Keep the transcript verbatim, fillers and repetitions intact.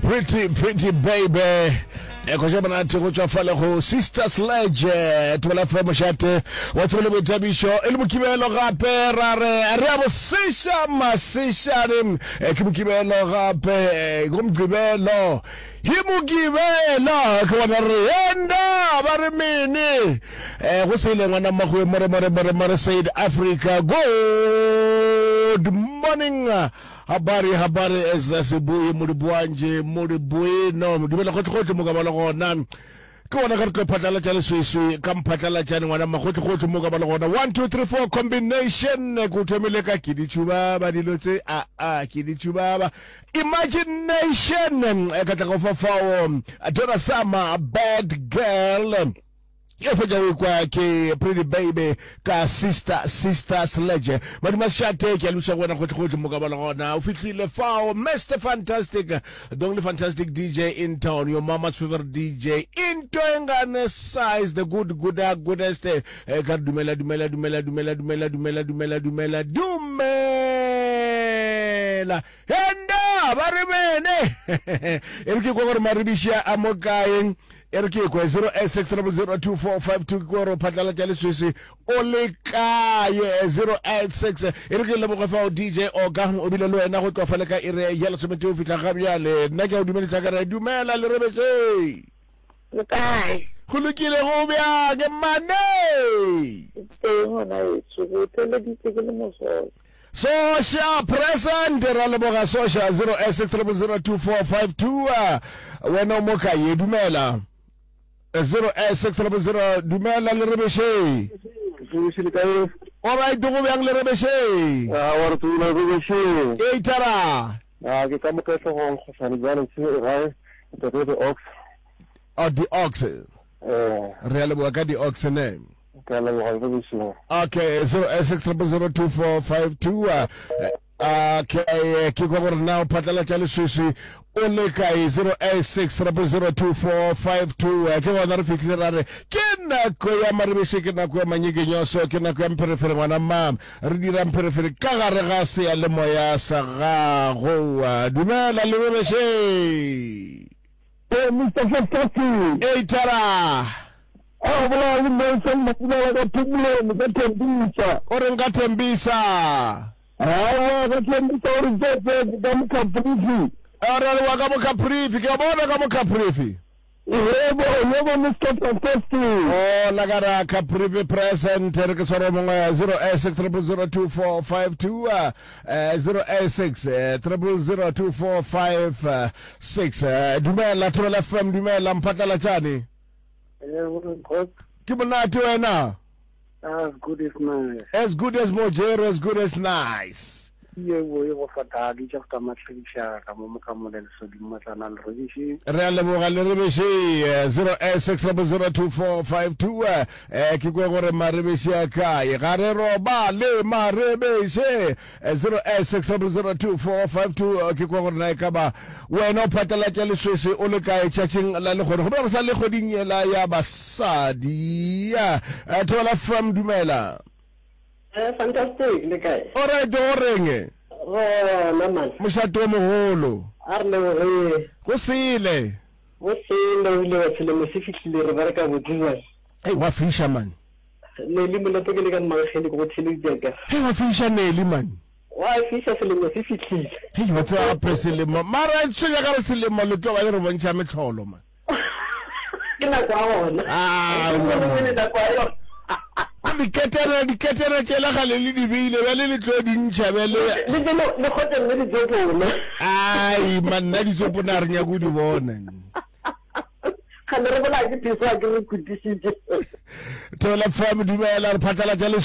Pretty Pretty Baby e khoša monate go tšwa fale go Sister Sledge. Thobela F M mošate wa tsebo le boithabišo e le Mokibelo gape ra re re a boseša masešane. Ke Mokibelo gape go Mokibelo ke Mokibelo ke bona re enda ba re mene go sele ngwana mmagoe more more more more said Africa. Good morning. Habari habari eza seboye moliboanje moliboeno dumela gotlhe-gotlhe mo ka ba le gona ke gona ge re tlo phatlalatša leswiswi ka mphatlalatšane ngwana magotlhe-gotlhe mo ka ba le gona. One two three four combination ke o thomile ka ke ditšhubaba dilo tse a a ke ditšhubaba imagination ka tla go fa fao Donna Summer Bad Girl e fetša go ikwa ke Pretty Baby ka Sister Sister Sledge. Maduma Shate ke a lebiša go wena gotlhe-gotlhe mo ka ba le gona o fihlile fao Mister Fantastic, the only fantastic D J in town, your mama's favorite D J into engane size, the good gooda goodest. Ka re dumela dumela dumela dumela dumela dumela dumela dumela dumela enda ba re bene e re ke kwa gore maribiši a mo kae. E re ke kwe zero eight six triple zero two four five two ke gore phatlalatša leswiswi o le kae zero eight six. E re ke leboge fao D J Oka o bile le wena go tloga fale ka ire ya lesometee go fihla ga bjale. Nna ke a o dumedisa ka re dumela le rebetše. Le kae? Go lokile go bjang mane? Teng gona etsho go theleditse ke le mosola. Sosha present ra leboga Sosha zero eight six triple zero two four five two. Wena o mo kae? Dumela zero eight six triple zero dumela le rebeshe. All right go bjang le rebeshe? Ah wa re tsula rebeshe. E tara. Ah ke ka mo ka hlogong go sane jalo se gae tate the ox. Oh the ox. Eh re a leboga ka the ox ne. Ka leboga rebeshe. Okay zero eight six triple zero two four five two. Okay ke kwa gore na o phatlalatša leswiswi o le kae zero eight six triple zero two four five two. Ke gona re fihlile ra re ke nako ya maribiši, ke nako ya manyekenyoso, ke nako ya mpherefere ngwana mma re dira mpherefere ka gare ga seyalemoya sa gago. Dumela le rebeshe. Hey, Mister Fantastic. Hey, Tara. A bolela le Nelson Matimela ka Phomolong ka Thembisa. O reng ka Thembisa? Aowa ka Thembisa o re tsetse ka Mocaprivi. A re wa ka Mocaprivi, ke a bona ka Mocaprivi. Yebo, yebo Mister Fantastic. Oh, la ka ra Caprivi present re ke tshwara mongwe zero eight six triple zero two four five two zero eight six triple zero two four five six. Dumela Thobela F M, dumela mphatlalatšane. Ke monate wena. As good as nice. As good as mojero, as good as nice. Yebo, yebo fatadi tša go tamatlhediša ka mo mokamole lesodi matlana le rebiše. Re a leboga le rebiše zero eight six triple zero two four five two. Eh ke kwe gore marebiše a kae ga re robale marebiše zero eight six triple zero two four five two. Ke kwe gore na e ka ba wena o phatlalatša leswiswi o le kae tšatšing la lekgono goba re sa le kgweding yela ya basadi. Thobela F M dumela. Eh, fantastic le kae? All right go reng? Gona man. Mošate o mogolo. A re leboge. Go sele. Go sele o ile wa selemo se fihlile re bereka botse bjang. Hey wa fisha man. Nelly Molato ke le ka Mmankgele ke go theleditše ka. Hey wa fisha Nelly man. Wa fisha selemo se fihlile. Hey wa tseba gape selemo mara tshwenya ka re selemo le tlo ba le re bontšha mehlolo man. Ke nako ya gona. Ah, nako ya yona. Diketana diketana tšela gale le di beile bjale le tlo di ntšha bjale. Le le le kgotse mme ditsopona. Ai man nna ditsopona re nyako di bona. Gale re bolaya ke phiso a ke re khutišitše. Thobela F M dumela re phatlalatša le